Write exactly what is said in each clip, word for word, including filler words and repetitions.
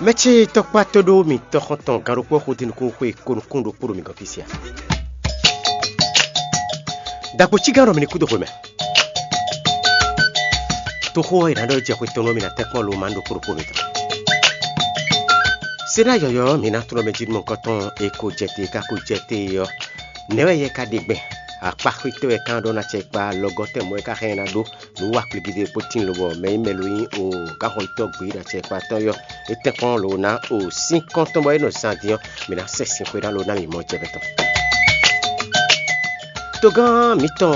Mɛ ce tɔkpá tó ɖó mì tɔxɔntɔn gán ɖokpó xo dín nukún xwe ko nukún ɖokpó ɖo mi gɔ́n fí sia. Dagbo cí gán ɖɔ mi ní kú dó xwe mɛ. Toxo ɔ́, è nǎ ɖɔ jɛ xwe tɔn nú mi ná tɛ́nkpɔ́n lo ma ɖokpó ɖokpó mitɔn. Seɖá yɔ̌yɔ́ mi ná tlɔ́ mɛ jí nú mɔ̌hunkɔtɔn e ko jɛ te e ka ko jɛ te é ɔ́, nɛ̌ wɛ yɛ ka ɖe gbɛn? Akpá xwítɔ́ wɛ ka ɖɔ ná cɛ kpa lɔgɔ́ tɛn mɔ̌ wɛ ka hɛn ná ɖó nǔ wa kplígídé kpó tíin lobɔ mɛ e mɛ lo nyí o gáxɔyítɔ́ gbě ɖo acɛkpa tɔn yɔ. É tɛ́nkpɔ́n lo ná o sín kɔ́n tɔn bɔ é nɔ zan din ɔ́, mǐ ná sɛ sin xwe ná lo ná mǐ mɔ jɛ mɛ tɔn. Togán mǐtɔn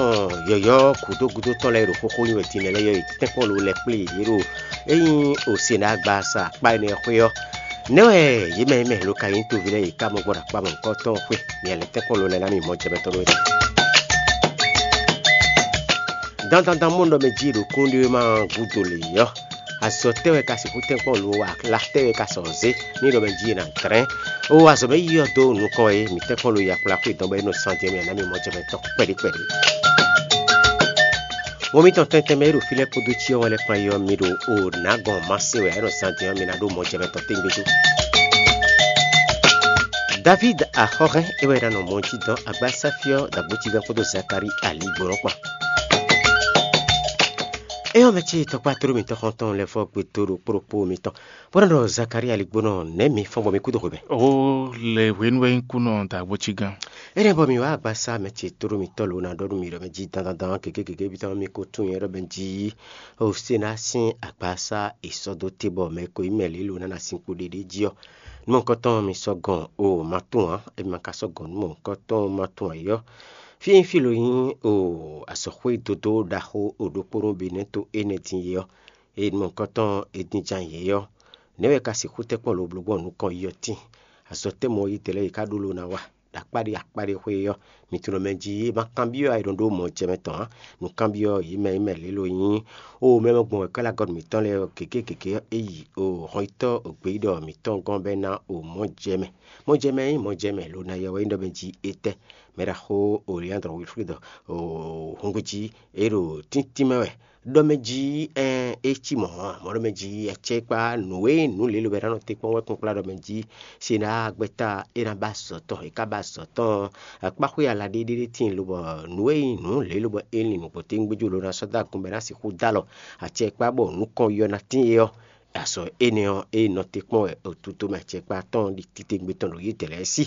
yɔ̌yɔ́ gǔdo gúdo tɔn lɛ́ɛ ɖo xóxó nyi wɛ din lɛ́ɛ yɔ yě tɛ́nkpɔ́n lo lɛ́ kplé yě ɖo é nyí o se ná gba sa akpá énɛ́ xwé ɔ́. Nɛ̌ wɛ yě mɛ yě mɛ lo ka nyí toví lɛ́ɛ yě ká mɔ gbɔn ɖo akpá mɔ̌hunkɔtɔn xwe? Mǐ lɛ́ tɛ́nkpɔ́n lo lɛ́ɛ ná mǐ mɔ jɛ mɛ tɔn ɖó é. Dandandan mɔ ɖɔ mɛ jí ɖo kúnɖéwéma gúdo lě ɔ́, azɔ tɛ́ wɛ ka sixú tɛ́nkpɔ́n lo wɛ? Ala tɛ́ wɛ ka sɔ zé ní ɖɔ mɛ jí è nǎ dlɛ́n? O azɔ mɛ yí ɔ́ dó nukɔn e mǐ tɛ́nkpɔ́n lo yakpla xwé dɔn bɔ é nɔ san jɛ mɛ ná mì mɔ jɛ mɛ tɔn kpɛɖé kpɛɖé. Mɔ mitɔn tɛntɛn mɛ e ɖo fí lɛ́ɛ kpódó cyɔ wɛn lɛ́ɛ kpán é ɔ́, mi ɖo o nǎ gbɔn Masewe wɛ é nɔ zan din ɔ́, mi ná ɖó mɔ jɛ mɛ tɔn tɛ́ngbé jó. Davíd axɔ́hɛn é wɛ ná nɔ mɔ jí dɔn agbásáfí ɔ́ ɖo agbócígán kpódó Zakalíi aligbɔnɔ kpán. Éyɔ́ mɛ ce tɔkpá tló mitɔn xɔntɔn lɛ́ɛ fɔ gbe dó ɖo kplɔ́kpó mitɔn, bó nɔ́ ɖɔ Zakalíi aligbɔnɔ nɛ̌ mi fɔ́n bɔ mi kú dó xwebɛ́n? Ó lɛ hwenu wɛ nyí kúnɔ ɖo agbócígán. Énɛ́ bɔ mi wá agbasá mɛ ce tló mitɔn lǒ ná ɖɔ nú mi ɖɔ mɛ jí dandandan gěgé gěgé ví tɔn mi ko tunwun nyɛ ɖɔ mɛ jí o se ná sín agbasá è sɔ́ dó te bɔ mɛ ko nyí mɛ lě lǒ ná ná sín kpo ɖéɖé jí ɔ́. Nú mɔ̌hunkɔtɔn mi sɔ́ gɔn o ma tunwun ǎ, emi ma ka sɔ́ gɔn nú mɔ̌hunkɔtɔn ma tunwun ǎ é ɔ́, fí e nyí fí lo nyí o azɔ̌xwé dodó ɖaxó o ɖokpónɔ Benɛ́to énɛ́ din é ɔ́, eye nú mɔ̌hunkɔtɔn è din jan yě ɔ́, nɛ̌ wɛ ka sixú tɛ́nkpɔ́n lo bló gbɔn nukɔn yi ɔ́ tíin? Azɔ̌ tɛ́ mɔ yí dɛ̌ lɛ́ɛ yě ká ɖó lo ná wa ɖo akpáɖé akpáɖé xwé ɔ́, mi tunɔ mɛ jí é ma kanbyɔ́ ayǐɖɔ́ɖó mɔ̌ jɛ mɛ tɔn ǎ. Nǔkanbyɔ́ yě mɛ e mɛ lě lo nyí o mɛ mɛ gbɔn wɛ̌kɔ́ lɛ́ɛ agɔ́ mǐtɔn lɛ́ɛ ɔ́ gěgé gěgé ɔ́, é yi o hɔnyitɔ́ o gbeyíɖɔ mǐtɔn gɔ́n bɔ é ná o mɔ̌ jɛ mɛ. Mɔ̌ jɛ mɛ nyí mɔ̌ jɛ mɛ lo ná yɔ wɛ nyí ɖɔ mɛ jí étɛ́? Mɛ ɖaxó o Leandro Wilfredo o húngbú jí é ɖo tíntín mɛ wɛ. Ɖɔ mɛ jí ɛn é cí mɔ̌ ǎ, mɔ̌ ɖɔ mɛ jí acɛ́kpá nǔ e nǔ lě lo bɛ ná nɔ te kpɔ́n wɛ kpɔ́n kplá ɖɔ mɛ jí se ná gbɛ́ta é ná ba azɔ̌ tɔn, é ká ba azɔ̌ tɔn. Akpáxwé ala ɖé ɖé ɖé tíin lobɔ nǔ e nyí nǔ lě lobɔ é lin nǔgbó téŋgbéjú lo ná sɔ́ dó agun bɔ é ná sixú dó alɔ acɛkpá bɔ nukɔn yɔ ná tíin é ɔ́, azɔ̌ énɛ́ ɔ́ é nɔ te kpɔ́n wɛ otutomɛ acɛkpá tɔn ɖi titewungbe tɔn ɖo yědɛɛ lɛ́ɛ sí,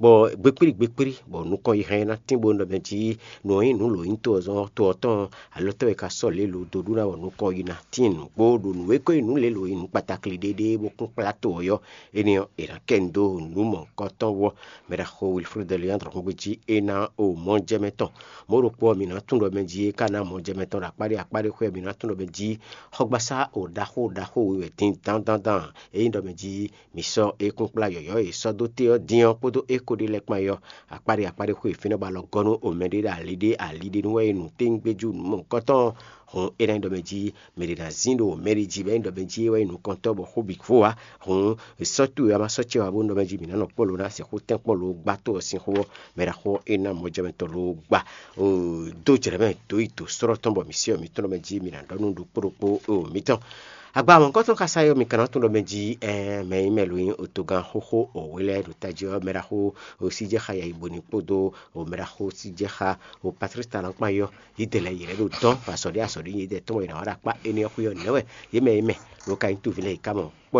bɔ gbekplí gbekplí bɔ nukɔn yi hɛn ná tín bó nɔ mɛ jí nǔ e nyí nǔ lǒnyítɔ́ ɔ́ zɔ́n to ɔ́ tɔn alɔ tɔ́ e ka sɔ́ lě lo dó ɖu ná wɔ nukɔn yi ná tín nǔgbó ɖo nǔ e ko nyí nǔ lě lo nyí nǔ kpatakli ɖéɖé bó kún kplá to ɔ́ yɔ. Énɛ́ ɔ́, è nǎ kɛ nu dó nǔ mɔ̌hunkɔtɔn wú ɔ́, mɛ ɖaxó Wilfredo Leandro xungbe jí é ná o mɔjɛmɛ tɔn. Mɔ̌ ɖokpó ɔ́, mǐ ná tunwun ɖɔ mɛ jí é ka ná mɔjɛmɛ tɔn ɖo akpáɖé akpáɖé xwé ɔ́, mǐ ná tunwun ɖɔ mɛ jí xɔgbasá o ɖaxó ɖaxó we wɛ din dandandan. Ényí ɖɔ mɛ jí mǐ sɔ́ é kún kplá yɔ̌yɔ́ e è sɔ́ dó te ɔ́ din ɔ́ kpódó é ko ɖé lɛ́ɛ kpán é ɔ́, akpáɖé akpáɖé xwé e fínɛ́ bɔ alɔ gɔ́ nú o mɛɖé ɖo ali ɖé ali ɖé nu wɛ é nu téŋgbéjú nǔ mɔ̌hunkɔtɔn. Hǔn é ná nyí ɖɔ mɛ jí mɛ ɖě ná zín ɖo mɛɖé jí bɔ é nyí ɖɔ mɛ jí é wɛ nyí nukɔntɔ́ bɔ xó bǐ vo ǎ. Hǔn è sɔ́ towe wɛ a ma sɔ́ ce wɛ ǎ bónú ɖɔ mɛ jí mǐ ná nɔ kpɔ́ lo ná sixú tɛ́nkpɔ́n lo gbá to ɔ́ sín xó ɔ́, mɛ ɖaxó ɔ́ é ná mɔjɛmɛtɔn lo gbá. Dó jlɛ̌ mɛ dó yi dǒ slɔ́ tɔn bɔ mǐ syɔ́ mǐtɔn ɖɔ mɛ jí mǐ ná ɖɔ nú ɖokpó ɖokpó o mǐtɔn. Agba mɔ̌hunkɔtɔn xása ɔ́, mi ka ná tunwun ɖɔ mɛ jí mɛ e nyí mɛ lo nyí otogán xóxó wěwé lɛ́ɛ ɖo tají ɔ́, mɛ ɖaxó Síjɛ́xa Yayiboni kpódó mɛ ɖaxó Síjɛ́xa Patlísi Talankpán ɔ́, yědɛɛ lɛ́ɛ yě lɛ́ ɖo dɔ́n azɔ̌ ɖé azɔ̌ ɖé yědɛɛ tɔn bɔ yě ná wá ɖo akpá énɛ́ ɔ́ xwé ɔ́ nɛ̌ wɛ? Yě mɛ e nyí mɛ lo ka nyí toví lɛ́ɛ yě ká mɔ kpɔ́